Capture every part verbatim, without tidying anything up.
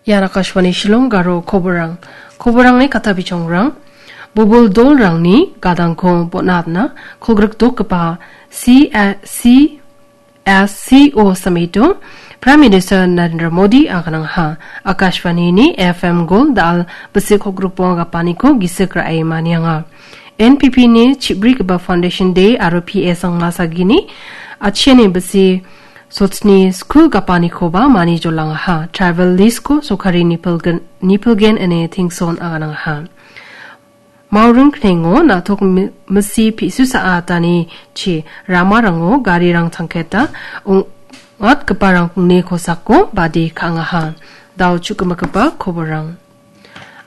Ian Akashvani Shillong Garo koborrang. Koborrangni kata bichongrang. Bobol dolrangni gadangko bonatna kolgrikdokgipa C, C, S C O samito Prime Minister Narendra Modi aganangha. Akashvanini F M Gold dal bisik kolgrikbonga gapaniko gisik ra·e manianga. N P P ni chibrigipa Foundation Day aro P A Sangma Sagini achiani bisi sotsni sku gapanikoba mani jolangaha. Travel list-ko sokari nipilgen, nipilgen ine Tingson aganangaha. Mauring knengo na·tok mi-, misi pi·su sa·a atani chi ramarango garirang tangketa ong-, ong·atgiparangni kosako badi ka·angaha. Dao chu·gimikgipa koborrang.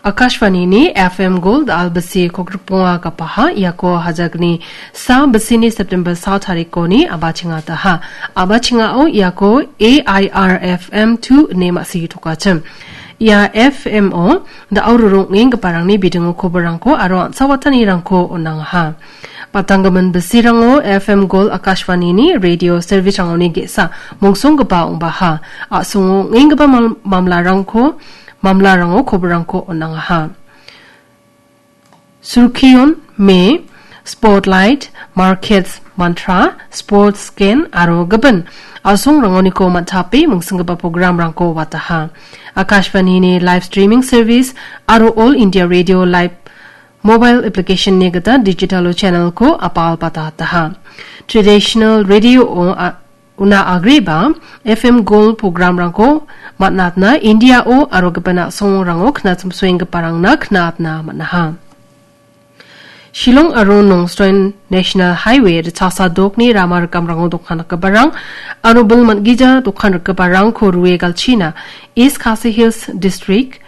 Akashvanini F M Gold albisi kolgrikbonga gapaha iako hajakni sa bisini September sa tarikoni abachingataha. Abachingao iako A I R F M two ine ma·sigi tokachim. Ia F M o da·o rorongenggiparangni bidingo koborrangko aro an·sawatanirangko on·angaha. Batanggimin bisirango F M Gold Akashvanini radio service-rangoni ge·sa mongsonggipa ong·baha. A·songo ong·enggipa mam-, mamlarangko mamlarango koborrangko on·angaha. Surkion, Me, Spotlight, Markets Mantra, Sports Scan aro gipin a·songrangoniko man·tape mingsinggipa programrangko wataha. Akashvanini live streaming service aro All India Radio Live mobile application-ni gita digital channel-ko apal patataha. Traditional radio-o a-, una agreba F M Gold program-rangko man·atna India-o aro gipin a·songrango knatchimsoenggiparangna knatna man·aha. Shillong aro Nongstoin National Highway ritchasa dokni rama rikamrango dokan rikgiparang aro bil man·gija dokan rikgiparangko rue galchina East Khasi Hills District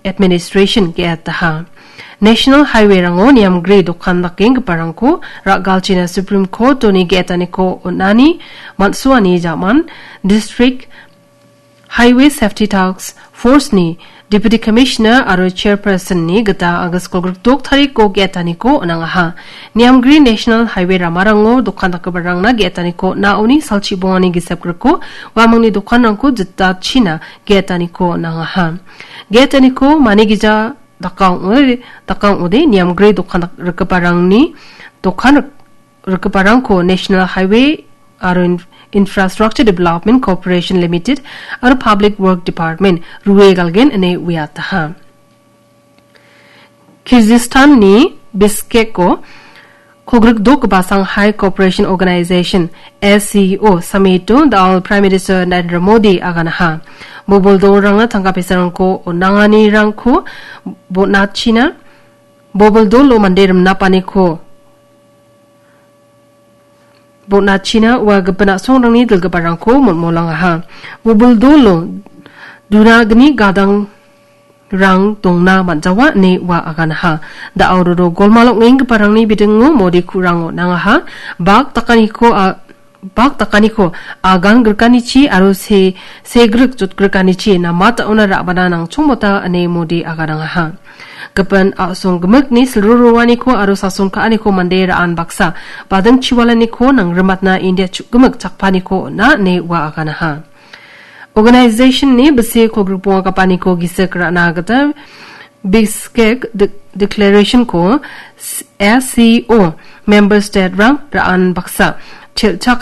Administration ge·etaha. National Highway-rango niamgri dokan dakenggiparangko ra·galchina Supreme Court-oni ge·etaniko on·ani man·suani jaman District Highway Safety Task Force-ni Deputy Commissioner aro Chairperson-ni gita August kolgrikdok tariko ge·etaniko on·angaha. Niamgri National Highway ramarango dokan dakgiparangna ge·etaniko on·aoni salchi bongani gisep griko uamangni dokanrangko jitachina ge·etaniko on·angaha. Ge·etaniko manigija dakang ong·ode, dakang ong·ode niamgri dokan dak-, rikgiparangni dokan rik-, rikgiparangko National Highway aro In-, Infrastructure Development Corporation Limited aro Public Work Department rue galgen ine uiataha. Kyrgyzstan-ni Bishkek-o kolgrikdokgipa Shanghai Cooperation Organization, S C O, summit-o da·al Prime Minister Narendra Modi aganaha. Bobol dolrangna tangka pesarangko on·anganirangko bonachina, bobol dolo mande rimnapaniko bonachina ua gipin a·songrangni dilgiparangko molmolangaha. Bobol dolo dunagni gadang rang dongna man·jawa ine ua aganaha. Da·o roro golmal ong·enggiparangni bidingo Modi ku·rang on·angaha. Bak dakaniko a-, bak dakaniko agan grikanichi aro se-, segrik jotgrikanichi namat da·ona ra·bana nangchongmota ine Modi aganangaha. Gipin a·song gimikni silroroaniko aro sason ka·aniko mande ra·an baksa bading chiwalaniko nangrimatna India chu·gimik chakpaniko on·a ine ua aganaha. Organization-ni bisi kolgrikbonga gapaniko gisik ra·na gita Bishkek de-, Declaration-ko S C O member state-rang ra·an baksa chelchak